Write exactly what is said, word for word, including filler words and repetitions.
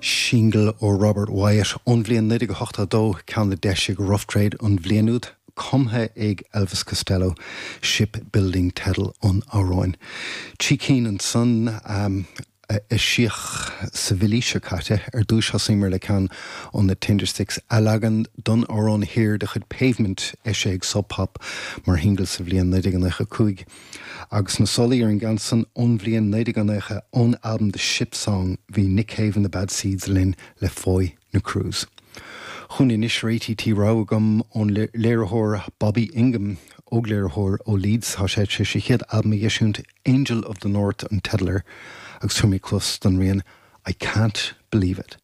Singil ó Robert Wyatt ón bhliain naoi déag ochtó dó ceann a d'eisigh Rough Trade an bhliain úd, cumtha ag Elvis Costello, Shipbuilding teideal an amhráin. Trí cinn ansan um, eisíodh sa mhí seo caite ar dtús thosaíomar le ceann ó na Tindersticks a leagan don amhrán Here de chuid Pavement eisithe ag Sub Pop mar shingil sa bhliain naoi déag nócha cúig. Agus na solaí ar an gceann san ón bhliain naoi déag nócha ón album The Ship Song bhí Nick Cave and the Bad Seeds linn le Foy na Cruise. Chun inis réití tí ra gom ón léiritheoir Bobby Ingham ógléiritheoir ó Leeds tá sé sé sé chéad albam a eisiúint Angel of the North an teideal air agus tugaimid cluas don rian I can't believe it.